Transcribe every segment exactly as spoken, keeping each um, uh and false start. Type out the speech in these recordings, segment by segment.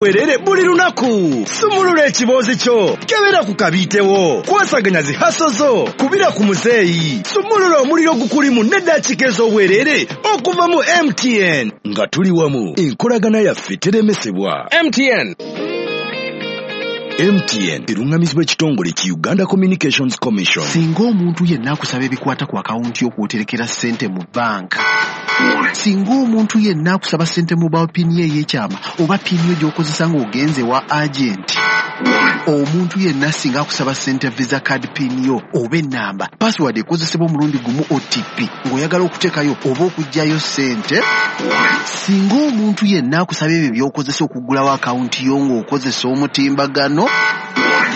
Werere buli lunaku. Sumulula ekiboozi kyo, kebera ku kabiitewo, kwasaganya zi hustle zo, kubira ku muzeeyi, sumulula omuliro gukulimu n'eddakiika ez'obwerere okuva mu M T N. Nga tuli wamu, enkolagana yaffe teremesebwa. M T N. M T N eruŋŋamizibwa ekitongole ki Uganda Communications Commission. Singa omuntu yenna akusaba ebikwata ku akawunti y'okwoterekera ssente mu banka, singa omuntu yenna akusaba ssente mobile PIN ye ey'ekyama oba PIN yo gy'okozesa ng'ogenze wa agenti, omuntu yenna singa akusaba ssente Visa card PIN yo oba ennamba password ekozesebwa omulundi gumu O T P ng'oyagala okuteekayo oba okuggyayo ssente, singa omuntu yenna akusaba ebyo by'okozesa okuggulawo akawunti yo ng'okozesa omutimbagano,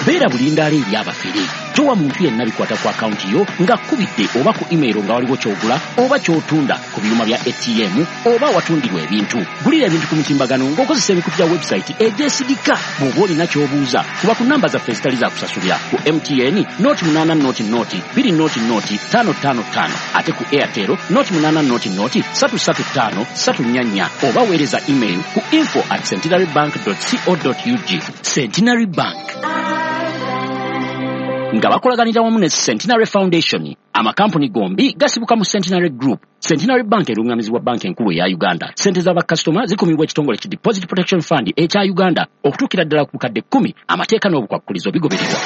Beera bulindaala eri abafere. Towa muntu yenna bikwata ku akawunti yo ng'akkubidde oba ku email nga waliwo ky'ogula oba ky'otunda ku byuma bya A T M oba awatundirwa ebintu. Gulira ebintu ku mutimbagano ng'okozesa emikutu gya website egyesigika. Bw'oba olina ky'obuuza, kuba ku namba zaffe ezitali za kusasulira: ku M T N nought munaana nought nought bbiri nought nought ttaano ttaano ttaano, ate ku Airtel nought munaana nought nought ssatu ssatu ttaano ssatu nnya nnya, oba weereza email ku info at centenary bank co ug. Centenary Bank nga bakolaganira wamu ne Centenary Foundation. Amakampuni gombi gasibuka mu Centenary Group. Centenary Bank eruŋŋamizibwa Banka Enkulu eya Uganda. Sente z'abakasitoma zikumibwa ekitongole ki Deposit Protection Fund ekya Uganda okutuukira ddala ku bukadde kkumi. Amateeka n'obukwakkulizo bigobererwa.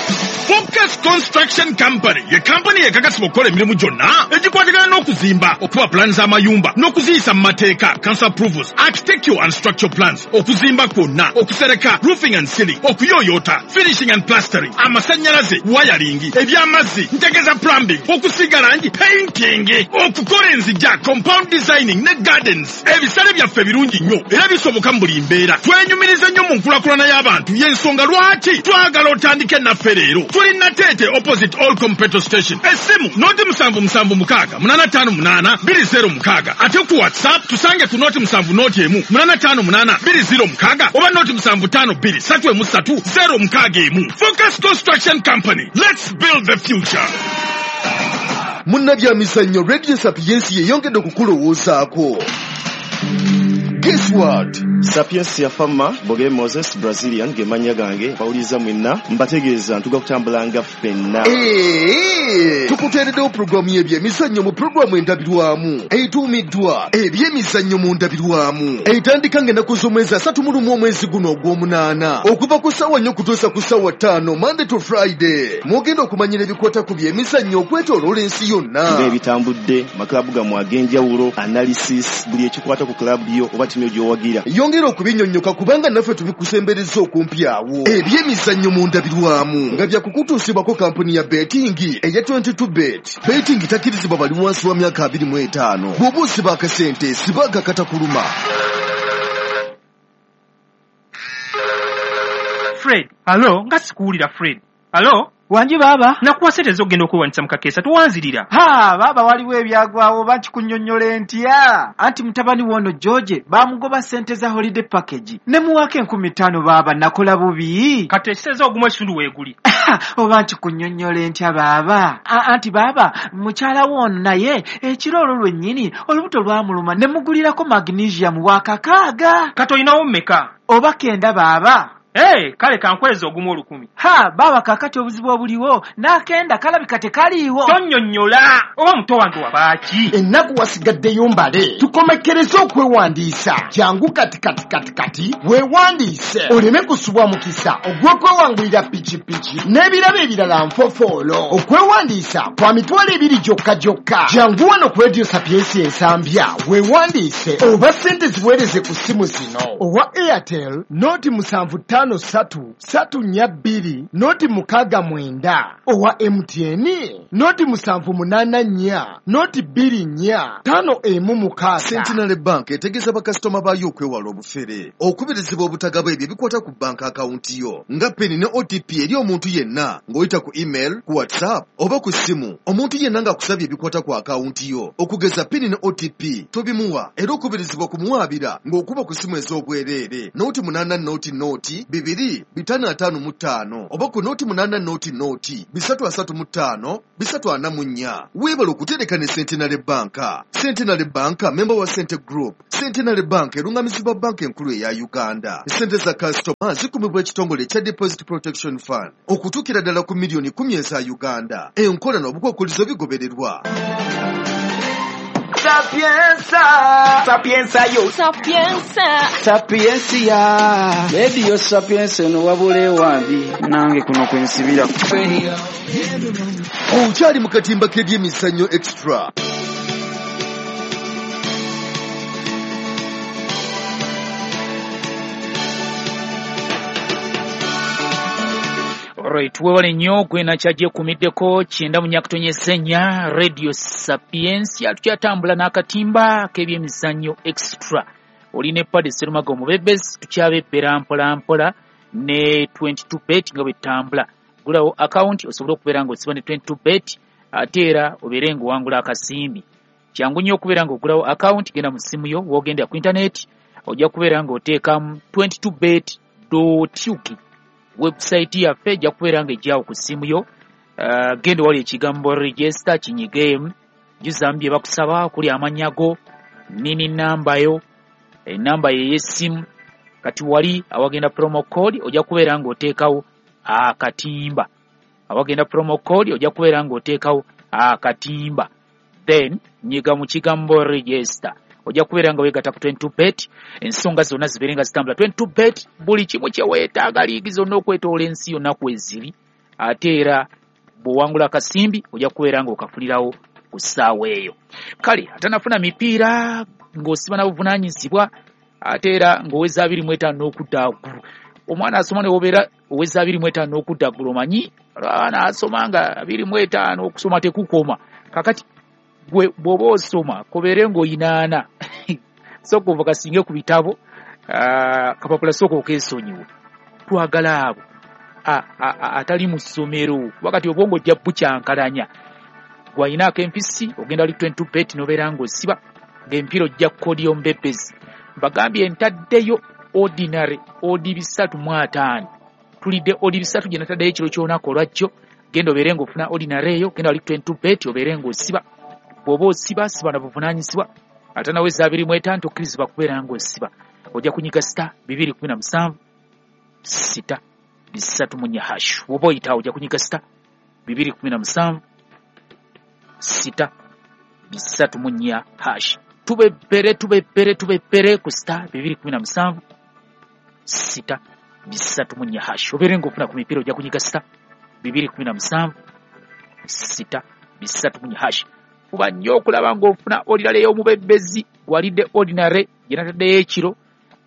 Focus Construction Company ye kampani ekakasibwa okukola emirimu gyonna egikwatagana n'okuzimba, okuba pulaani z'amayumba n'okuziyisa mu mateeka, council approvals, architectural and structural plans, okuzimba kwonna, okusereka, roofing and ceiling, okuyooyoota, finishing and plastering, amasannyalaze, wiring, eby'amazzi, ntegeeza plumbing, okusiiga langi, painting, okukola enzija, compound designing ne gardens. Ebisale byaffe birungi nnyo era bisoboka mu buli mbeera. Twenyumiriza nnyo mu nkulaakulana y'abantu, y'ensonga lwaki twagala otandike naffe leero. Tuli Nateete, opposite All Petrol Station. Essimu nought musanvu musanvu mukaaga munaana ttaano munaana bbiri zero mukaaga, ate ku WhatsApp tusange ku nought musanvu nought emu munaana ttaano munaana bbiri zero mukaaga oba nought musanvu ttaano bbiri ssatu emu ssatu zero mukaaga emu. Focus Construction Company, let's build the future. Munnabyamizannyo, Radio Sapiensi yeyongedde okukulowoozaako. Guess what? Sapiensia Fama Boge Moses Brazilian ge mannya gange. Bawuliriza mwenna, mbategeeza ntuga kutambulanga ffenna. Ee, tukuteereddewo pulogulaamu y'ebyemizannyo mu pulogulaamu Endabirwamu etuumiddwa Ebyemizannyo mu Ndabirwamu, etandika ng'ennaku z'omwezi asatu mu lumu omwezi guno ogw'omunaana, okuva ku ssaawa nnya okutuusa ku ssaawa ttaano, Monday to Friday. Mwogenda okumanyira ebikwata ku byemizannyo okwetooloola ensi yonna, ng'ebitambudde maklabu gammwe ag'enjawulo, analysis, buli ekikwata ku klabu yo oba ttiimu yo gy'owagira. Yongera okubinyonnyoka kubanga naffe tubikusembereza okumpi awo. Ebyemizannyo mu Ndabirwamu nga byakukutuusibwako kampuni ya betting eya twenty-two Bet. Betting takkirizibwa bali wansi wa myaka abiri mu etaano. Bw'oba osiba akasente, siba akakatakuluma. Fred, alo, nga sikuwulira. Fred, alo. Wangi baaba. Nakuwa sente ez'okugenda okwewandiisa mu kakeesa, towanzirira. Ha, baaba, waliwo ebyagwawo. Oba nkikunnyonnyola ntya? Anti mutabani woono George baamugoba ssente za holiday package ne muwaako enkumi ttaano. Baaba, nakola bubi. Kati ekiseeza ogumu ekitundu weeguli. Oba nkikunnyonnyola ntya baaba? A- anti baaba, mukyala woono naye ekiro olwo lwennyini olubuto lwamuluma ne mugulirako magnesium wa kakaaga. Kati olinawo mmeka? Oba kenda baaba. Hey, kale kankweza ogumu olukumi. Ha baaba, kaakati obuzibu obuliwo n'akenda kalabika tekaliiwo. Tonnyonnyola, oba muto wange wabaaki? Ennaku wasigaddeyo mbale, tukomekkereze okwewandiisa. Jangu kati kati kati kati weewandiise oleme kusubwa mukisa ogw'okwewangulira pikipiki n'ebirabo ebirala nfofoolo. Okwewandiisa kwa mitwalo ebiri gyokka gyokka. Jangu wano ku Radio Sapiensi Ensambya weewandiise, oba ssente ziweereze ku ssimu zino: owa Airtel nought musanvu ttaano ssatu ssatu nnya bbiri nought mukaaga mwenda, owa M T N nought musanvu munaana nnya nought bbiri nnya ttaano emu mukaaga. Centenary Bank etegeeza bakasitoma baayo okwewala obufere, okubirizibwa obutagaba ebyo ebikwata ku banka akawunti yo nga PIN ne O T P eri omuntu yenna ng'oyita ku email, ku WhatsApp oba ku ssimu. Omuntu yenna ng'akusabye ebikwata ku akawunti yo, okugeza PIN ne O T P, tobimuwa, era okubirizibwa kumuwaabira ng'okuba ku ssimu ez'obwereere nought munaana nought nought bibiri bitaano ataano mu ttaano oba ku nooti munaana nooti nooti bisatu asatu mu ttaano bisatu ana mu nnya. Weebale okutereka ne Centenary Bank. Centenary Bank member wa Cente Group. Centenary Bank erungamizibwa banka enkulu eya Uganda. Sente za kasitoma zikumibwa ekitongole ekya Deposit Protection Fund okutuukira ddala ku miliyoni kumi eza Uganda. Enkola n'obukwakkulizo bigobererwa. Sapienza, sapienza yo, sapienza, sapiencia. Radio Sapienza eno wabula ewambi nange kuno kwensibira. Okyali mu katimba k'ebyemizannyo extra. Alright, webale nnyo gwe nakyagye kumiddeko kyenda mu nyakutonyeza ennya Radio Sapientia. Tukyatambula n'akatimba k'ebyemizannyo extra. Oli ne Padi Serumaga omubebezi, tukyabebbera mpola mpola ne twenty-two bet nga bwetambula. Gulawo account osobole okubeera ng'osiba ne twenty-two bet ate era obeere ng'owangula akasimbi. Kyangu nnyo okubeera ng'ogulawo account, genda mu ssimu yo w'ogenda ku internet ojja kubeera ng'oteekamu twenty-two bet dot U K. Website yaffe ejja kubeera ng'ejjawo ku ssimu yo. Uh, genda wali ekigambo register kinyigeemu, juzaamu bye bakusaba okuli amannya go, nini namba yo, enamba ye ey'essimu. Kati wali awagenda promo code ojja kubeera ng'oteekawo akatimba. Awagenda promo code ojja kubeera ng'oteekawo akatimba, then nyiga mu kigambo register ojja kubeera nga weegatta ku twenty-two bet. Ensonga zonna zibeere nga zitambula. twenty-two bet buli kimu kye weetaaga, liigi zonna okwetoola ensi yonna kweziri. Ate era bw'owangula akasimbi ojja kubeera ng'okafunirawo ku ssaawa eyo. Kale atanafuna mipiira ng'osiba na buvunaanyizibwa, ate era ng'oweza abiri mu etaano n'okudda waggulu. Omwana asoma ne wobeera oweza abiri mu etaano n'okudda waggulu, omanyi abaana asoma nga abiri mu etaano okusoma tekukoma. Kakati gwe bw'oba osoma kobeere ng'oyinaana sooka ova kasinge ku bitabo, kapapula sooka okeesonyiwe. Twagala abo atali mu ssomero kuba kati obwongo ojja bukyankalanya. Gwe alina ak'empisi ogenda wali twenty-two bet n'obeera ng'osiba ng'empiira ojja kukodiyo mbebezi. Mbagambye ntaddeyo ordinary odi bisatu mu ataano, tulidde odi bisatu gye nataddeyo ekiro ky'olunaku olwajjo. Genda obeere ng'ofuna ordinary eyo, genda wali twenty-two bet obeere ng'osiba. Bw'oba osiba siba na buvunaanyizibwa, ate naweza abiri mu etaano tokkirizibwa kubeera ng'osiba. Ojja kunyiga sita bibiri kumi na musanvu sita bisatu mu nnya hash. Bw'oba oyitawo ojja kunyiga sita bibiri kumi na musanvu sita bisatu mu nnya hash. Tubebbere tubebbere tubebbere ku sita bibiri kumi na musanvu sita bisatu mu nnya hash. Obeere ng'ofuna ku mipiira ojja kunyiga sita bibiri kumi na musanvu sita bisatu mu nnya hash. Fuba nnyo okulaba ng'ofuna ordinary ey'omubebbezi. Gwalidde ordinary gye nataddeyo ekiro,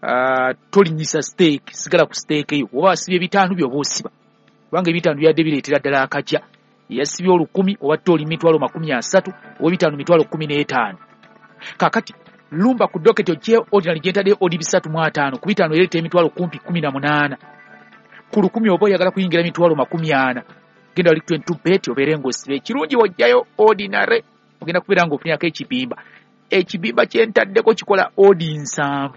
uh, tolinnyisa steak, sigala ku steak eyo. Oba wasibye ebitaano by'oba osiba, kubanga ebitaano byadde bireetera ddala akajja. Yasibye olukumi oba oli mitwalo makumi asatu oba ebitaano mitwalo kkumi n'etaano. Kaakati lumba ku docket ogye ordinary gye ntaddeyo odi bisatu mu ataano, ku bitaano ereeta emitwalo kumpi kkumi na munaana. Ku lukumi oba oyagala kuyingira mitwalo makumi ana, genda wali twenty-two bet obeere ng'osiba. Ekirungi w'oggyayo ordinary ogenda kubeera ng'ofunirako ekibimba. Ekibimba kye ntaddeko kikola odi nsanvu,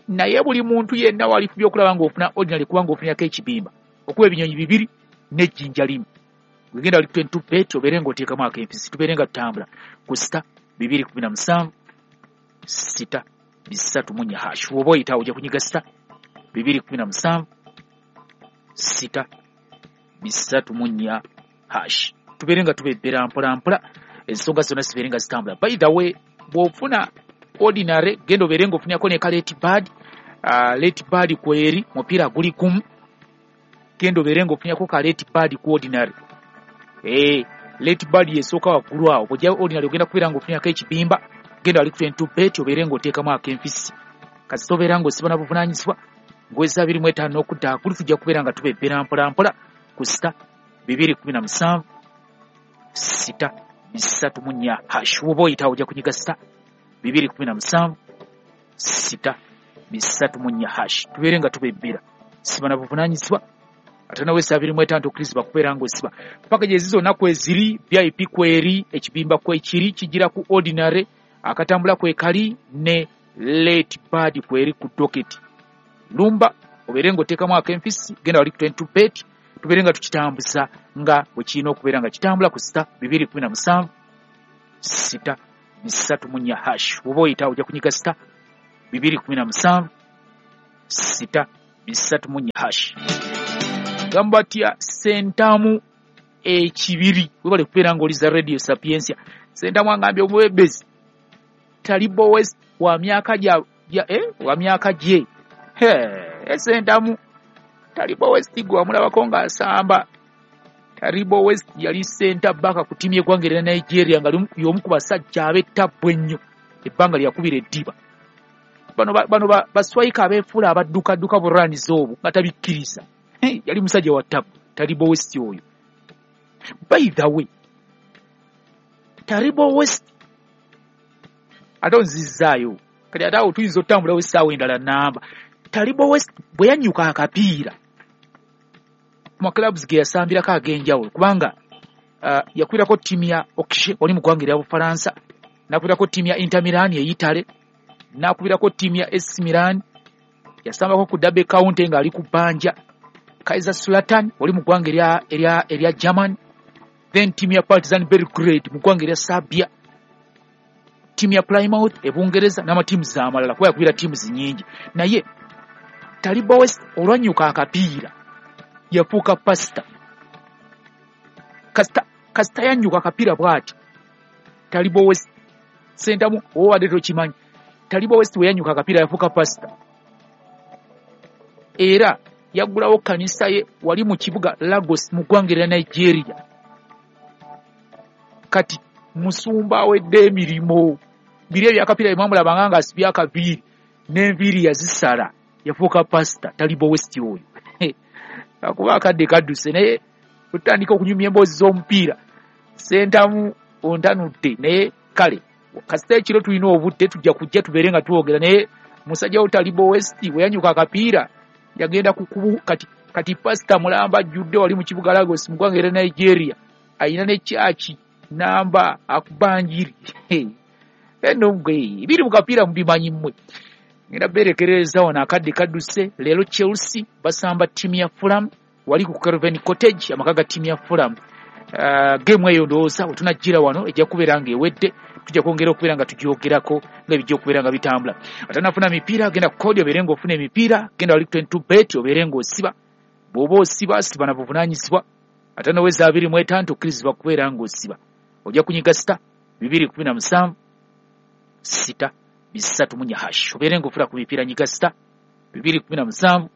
naye buli muntu yenna walifubye okulaba ng'ofuna ordinary kubanga ofunirako ekibimba okuba ebinyonyi bibiri n'ejjinja limu. Wegenda wali twenty-two bet obeere ng'oteekamu ak'empisi. Tubeere nga tutambula ku sita bibiri kumi na musanvu sita bisatu mu nnya hash. Bw'oba oyitawo ojja kunyiga sita bibiri kumi na musanvu sita bisatu mu nnya hash. Tubeere nga tubebbera mpola mpola, ensonga zonna zibeere nga zitambula. By the way, bw'ofuna ordinary genda obeere ng'ofunirako ne ka late bird. Uh, late bird kweri mupiira guli gumu, genda obeere ng'ofunirako ka late bird ku ordinary. Eh, late bird yesooka waggulu awo. Bw'ojja ordinary ogenda kubeera ng'ofunirako ekibimba. Genda wali ku twenty-two bet obeere ng'oteekamu ak'enfisi. Kasita obeera ng'osiba na buvunaanyizibwa ng'oweza abiri mu etaano n'okudda waggulu, tujja kubeera nga tubebbera mpola mpola ku sita bibiri kumi na musanvu sita bisatu mu nnya hash. Bw'oba oyitawo ojja kunyiga sita bibiri kumi na musanvu sita bisatu mu nnya hash. Tubeere nga tubebbera, siba na buvunaanyizibwa ate naweza abiri mu etaano tokkirizibwa kubeera ng'osiba. Paka gye zonna kweziri, V I P kweri, ekibimba kwekiri kigira ku ordinary, akatambula kwekali ne late bird kweri ku docket. Lumba Obeere ng'oteekamu ak'enfisi, genda wali ku twenty-two bet, tubeere nga tukitambuza nga bwe kirina okubeera nga kitambula ku sita bibiri kumi na musanvu sita bisatu mu nnya hash. Bw'oba oyita ojja kunyiga sita bibiri kumi na musanvu sita bisatu mu nnya hash. Gamba tya Sentamu ekibiri, webale kubeera ng'oliza Radio Sapientia. Sentamu angambye omwebezi Taribo West wa myaka gya eh wa myaka gye. He, Sentamu Taribo West gwe wamulabako ng'asamba. Taribo West yali center back ku ttiimu y'eggwanga erya Nigeria nga y'omu ku basajja ab'ettabbu ennyo ebbanga lyakubira eddiba. Bano bano baswayika abeefuula abaddukadduka bulwanizi obwo nga tabikkiriza. Yali musajja wa ttabbu Taribo West oyo. By the way, Taribo West ate onzizzaayo kati ate awo tuyinza otambulawo essaawa endala namba. Taribo West bwe yannyuka akapiira mu clubs ge yasambirako ag'enjawulo, kubanga uh, yakwirako ttiimu ya Auxerre wali mu ggwanga erya Bufalansa, n'akubirako ttiimu ya Inter Milan e Italy, n'akubirako ttiimu ya A C Milan, yasambako ku Derby County ng'ali ku bbanja, Kaiserslautern wali mu ggwanga erya erya erya German, then ttiimu ya Partizan Belgrade mu ggwanga erya Serbia, ttiimu ya Plymouth e Bungereza n'amatiimu amalala, kuba yakubira ttiimu nnyingi. Naye Taribo West olwanyuka akapiira yafuuka pasita. Kasita kasita yannyuka akapiira bw'ati Taribo West Sentamu owadde tokimanyi, Taribo West we yannyuka akapiira yafuuka pasita, era yaggulawo kkanisa ye wali mu kibuga Lagos mu ggwanga erya Nigeria. Kati musumba awedde emirimu, biri ebyakapiira bye mwamulabanga ng'asibye akaviiri n'enviiri yazisala, yafuuka pasita Taribo West oyo. Akuba akadde kadduse, naye tutandika okunyumya emboozi z'omupiira. Sentamu ontanudde, naye kale kasita ekiro tulina obudde tujja kujja tubeere nga twogera. Naye musajja wo Taribo West bwe yanyuka akapiira yagenda kukubu kati kati pasita mulamba ajjudde wali mu kibuga Lagos mu ggwanga erya Nigeria, ayina ne kyaki namba akubanjiri eno gwe biri mu kapiira mubimanyi mmwe. Ngenda berekereza wano akadde kadduse. Leero Chelsea basamba ttiimu ya Fulham wali ku Craven Cottage, amaka ga ttiimu ya Fulham. Uh, game eyo ndowooza we tunajjira wano ejja kubeera ng'ewedde, tujja kwongera okubeera nga tugyogerako nga bijja okubeera nga bitambula. Atanafuna mipiira genda ku kodi obeere ng'ofuna emipiira, genda wali ku twenty-two bet obeere ng'osiba. Bw'oba osiba siba na buvunaanyizibwa. Atanaweza abiri mu etaano tokkirizibwa kubeera ng'osiba. Ojja kunyiga sita bibiri kumi na musanvu sita bisatu mu nnya hash. Obeere ng'ofuna ku mipiira, nyiga sita bibiri kumi na musanvu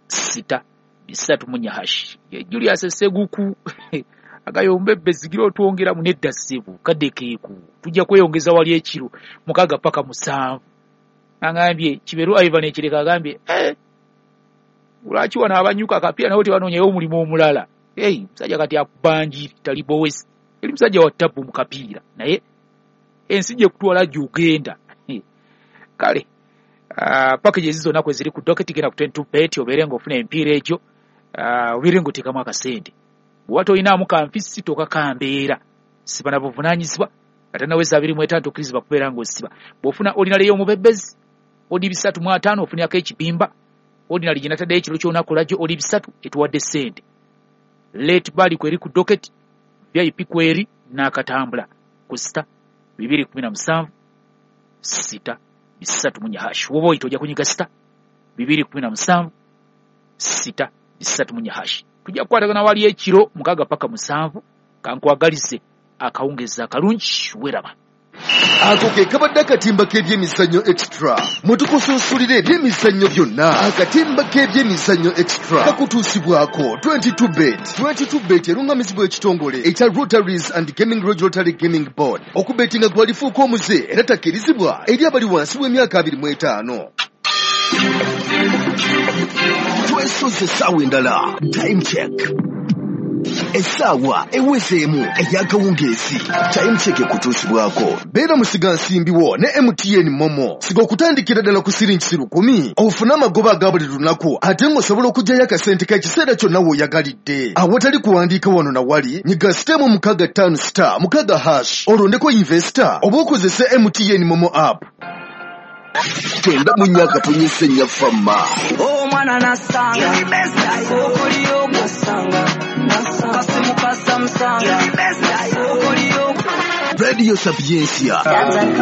sita bisatu mu nnya hash. Julius Seguku agayombe bezigira otwongera mu nedda ssebo kadde keeku, tujja kweyongeza wali ekiro mukaaga paka musanvu. Angambye Kiberu Ivan Ekireka agambye eh, lwaki wano abanyuka akapiira nabo tebanoonyayo omulimu omulala? Hey, musajja kati akubanjiri Taribo West eri musajja wa ttabbu mu kapiira, naye ensi gye kutwala gy'ogenda. Kale uh, packages zonna kwe ziri ku docket, genda ku twenty-two bet obeere ng'ofuna emipiira egyo, uh, obeere ng'oteekamu akasente. Bw'oba tolinaamu kanfisi tokakambeera, siba na buvunaanyizibwa. Ate naweza abiri mu etaano tokkirizibwa kubeera ng'osiba. Bw'ofuna ordinary y'omubebezi odi bisatu mu ataano ofunirako ekibimba, ordinary gye nataddeyo ekiro ky'olunaku lwajjo odi bisatu etuwadde ssente. Late bali kweri ku docket, V I P kweri n'akatambula ku sita bibiri kumi na musanvu sita bisatu mu nnya hash. Bw'oba oyita ojja kunyiga sita bibiri kumi na musanvu sita bisatu mu nnya hash. Tujja kukwatagana wali ekiro mukaaga paka musanvu. Kankwagalize akawungezi akalungi, weeraba. Ako ke kabadde akatimba k'ebyemizannyo extra mwe tukusuusulira ebyemizannyo byonna. Akatimba k'ebyemizannyo extra kakutuusibwako twenty-two bet. twenty-two bet erungamizibwa ekitongole ekya Rotaries and Gaming Regulatory Gaming Board. Okubetinga gwalifuuka omuze era takkirizibwa eri abali wansi w'emyaka abiri mu etaano. Twesoze essaawa endala, time check. Essaawa ewezeemu ey'akawungeezi. Time check ekutuusibwako Beera musigansimbi wo ne M T N Momo. Siga okutandikira ddala ku siringi lukumi ofune amagoba aga buli lunaku, ate ng'osobola okuggyayo akasente k'ekiseera kyonna w'oyagalidde. Awatali kuwandiika wano na wali, nyiga sitemu mukaaga ttaano star mukaaga hash olondeko investor oba okozese M T N Momo app. Kyenda mu nnya akatonyesa ennya Fama. Omwana nasanga okoliyo nasanga kasimu kasamusanga okoliyo Radio Sapiencia.